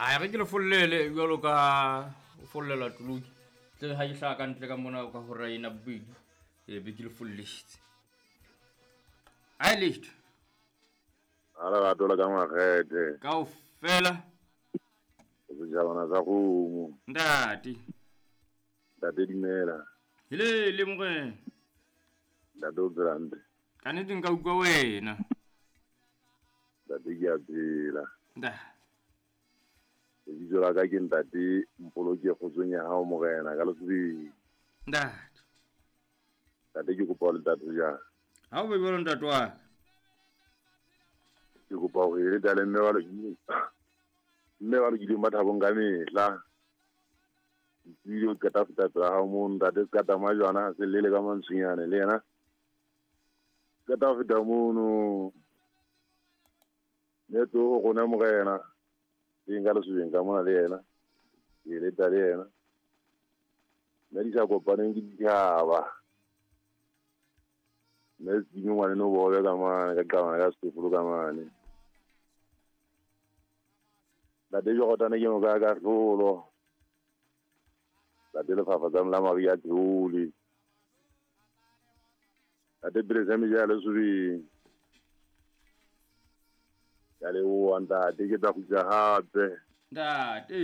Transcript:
A re ke le follele jwalo ka o follela toloki. Tle ha ke hlaha ka ntle ka mona ka hora ena bobedi. E be ke le folletse. Ai letho. A lerato la ka makgethe. Kaofela. Setjhabana sa kgomo. Ntate. Ntate dumela. Hele le morena. Ntate o phela hantle. Ka nnete nka utlwa wena. Ntate ke a phela. Ntate. Lebitso la ka ke ntate Mpoloke kgotsong ya hao morena ka lesebeng. Ntate. Ntate ke kopa ho le ntate jang. Ha o be jwalo ntate wa ka. Ke kopa hore le tale mme ba lokileng. Mme ba lokileng ba thabong ka mehla. Ke o qeta feta pela hao moo ntate se ka tama jwana se lele ka mantshunyane le yena. Qeta feta mono. Ne tlo ho rona morena. Teng ka lesobeng ka mona le yena. Ke leta le yena. Mme di sa kopaneng ke ditjhaba. Mme se ngwane no bobe ka mane ka qabana ka setofolo ka mane. Ntate Jordane ke moka ka hlolo. Ntate lefafatsa la Maria Theole. Ntate pele sa meja lesobeng. Ka leboha ntate ke tla kgutla hape. Ntate.